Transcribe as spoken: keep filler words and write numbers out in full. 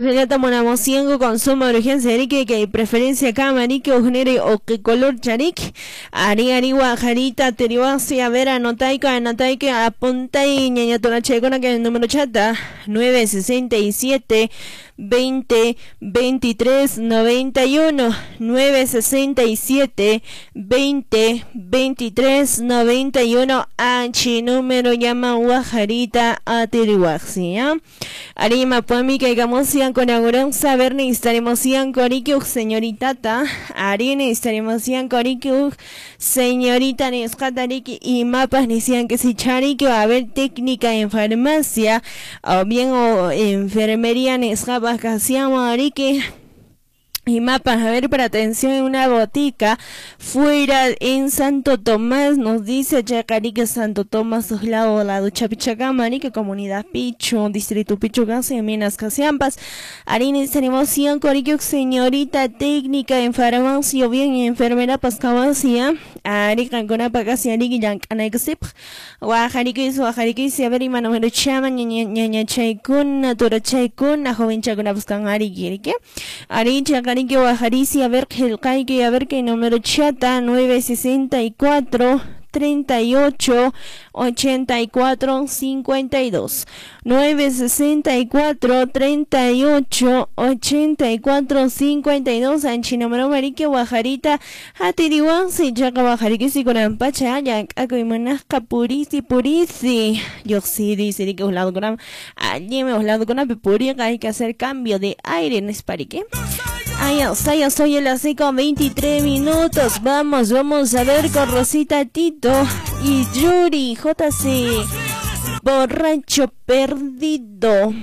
Monamosiengo con suma urgencia que que preferencia camarike ujnere o que color charik ari ari guajarita teriwasi a ver anotaico anotaico apunta y ñaña tolachecona que el número chata nueve sesenta y siete veinte veintitrés noventa y uno nueve sesenta y siete veinte veintitrés noventa y uno H número llama guajarita a teriwasi ¿ya? Arima puami que hagamos con agurón saber necesitaremos corikiuk señorita ta ari necesitaremos corikiuk señorita nescatariki y mapas decían que si chariki a ver técnica en farmacia o bien o enfermería nescapas ariki y mapas, a ver, para atención en una botica fuera en Santo Tomás, nos dice Chacarique Santo Tomás, lado lado Chapichacama, comunidad Picho, distrito Picho, Gase, Minas Casiampas. Arines, tenemos cien corique, señorita técnica en farmacia, bien enfermera pascabasia, Arica, Conapacasi, Arique, Yancanexip, Guajarique, Guajarique, a ver, y número chama, ñaña chaicuna, tora chaicuna, joven chacuna, buscan Arique, Aricha, que bajarisi a ver que a ver que número chata nueve sesenta y cuatro treinta y ocho ochenta y cuatro cincuenta y dos nueve sesenta y cuatro treinta y ocho ochenta y cuatro cincuenta y dos anchi número marique guajarita hatiriwansi chaca guajarique si con ampacha yancaco purisi purisi yo sí dice que os lado con allí me os lado con purica hay que hacer cambio de aire no es parique. Ay, ya soy a las cinco veintitrés minutos. Vamos, vamos a ver con Rosita Tito y Yuri J C. Borracho perdido.